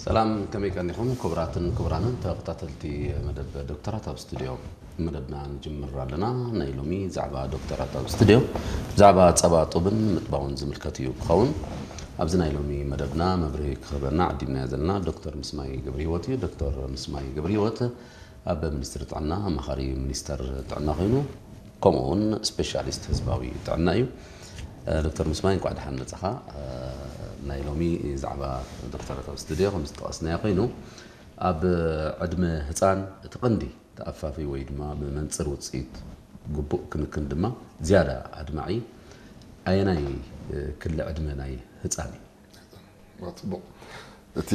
ሰላም፣ ከመይ ቀኒኹም ክቡራትን ክቡራንን ተኸታተልቲ መደብ ዶክተራት ኣብ ስቱድዮ? መደብና ንጅምር ኣለና። ናይ ሎሚ ዛዕባ ዶክተራት ኣብ ስቱድዮ ብዛዕባ ጸባ ጡብን ምጥባውን ዝምልከት እዩ ክኸውን። ኣብዚ ናይ ሎሚ መደብና መብርሂ ክህበና ዓዲምናዮ ዘለና ዶክተር ምስማይ ገብረ ህይወት እዩ። ዶክተር ምስማይ ገብረ ህይወት ኣብ ሚኒስትሪ ጥዕና ኣማኻሪ ሚኒስተር ጥዕና ኮይኑ፣ ከምኡ እውን ስፔሻሊስት ህዝባዊ ጥዕና እዩ። ዶክተር ምስማይ፣ እንኳዕ ደሓን መጻኻ። ናይ ሎሚ ዛዕባ ዶክተራት ኣብ ስቱድዮ ከም ዝጠቐስናዮ ኮይኑ፣ ኣብ ዕድመ ህፃን እቲ ቀንዲ ተኣፋፊ ወይ ድማ ብመንፅር ውፅኢት ግቡእ ክንክን ድማ ዝያዳ ኣድማዒ ኣየናይ ክሊ ዕድመ ናይ ህፃን እዩ? ጽቡቕ። እቲ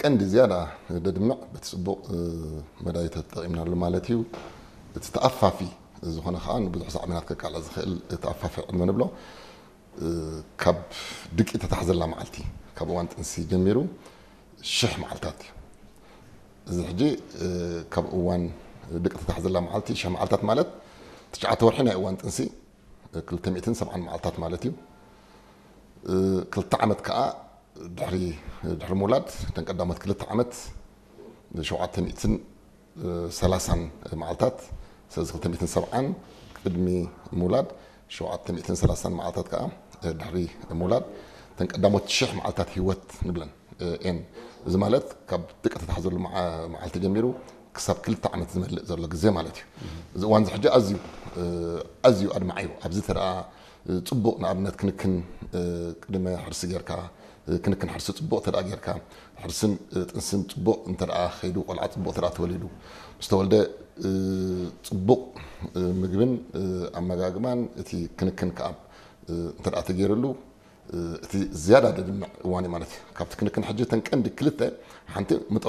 ቀንዲ ዝያዳ ደድምዕ በቲ ጽቡቕ መዳይ ተጠቒምናሉ ማለት እዩ። እቲ ተኣፋፊ ዝኾነ ከዓ ንብዙሕ ሳዕቤናት ከቃልዕ ዝኽእል ተኣፋፊ ዕድመ ንብሎ ካብ ድቂ ተታሕዘላ መዓልቲ፣ ካብ እዋን ጥንሲ ጀሚሩ ሽሕ መዓልታት እዩ። እዚ ሕጂ ካብ እዋን ድቂ ተታሕዘላ መዓልቲ ሽሕ መዓልታት ማለት ትሽዓተ ወርሒ ናይ እዋን ጥንሲ ክልተ ሚእትን ሰብዓን መዓልታት ማለት እዩ። ክልተ ዓመት ከዓ ድሕሪ ድሕሪ ምውላድ፣ እተን ቀዳሞት ክልተ ዓመት ሸውዓተ ሚእትን ሰላሳን መዓልታት፣ ስለዚ ክልተ ሚእትን ሰብዓን ቅድሚ ምውላድ፣ ሸውዓተ ሚእትን ሰላሳን መዓልታት ከዓ ድሕሪ ምውላድ፣ እተን ቀዳሞት ሽሕ መዓልታት ህይወት ንብለን ኤን። እዚ ማለት ካብ ድቂ ተታሕዘሉ መዓልቲ ጀሚሩ ክሳብ ክልተ ዓመት ዝመልእ ዘሎ ግዜ ማለት እዩ። እዚ እዋን እዚ ሕጂ ኣዝዩ ኣዝዩ ኣድማዒ እዩ። ኣብዚ ተደኣ ፅቡቕ፣ ንኣብነት ክንክን ቅድመ ሕርሲ ጌርካ፣ ክንክን ሕርሲ ፅቡቕ ተደኣ ጌርካ፣ ሕርስን ጥንስን ፅቡቕ እንተደኣ ከይዱ፣ ቆልዓ ፅቡቕ ተደኣ ተወሊዱ፣ ምስ ተወልደ ፅቡቕ ምግብን ኣመጋግባን እቲ ክንክን ከዓ እንተደኣ ተገይርሉ፣ እቲ ዝያዳ ደድምዕ እዋን እዩ ማለት እዩ። ካብቲ ክንክን ሕጂ እተን ቀንዲ ክልተ፣ ሓንቲ ምጥባው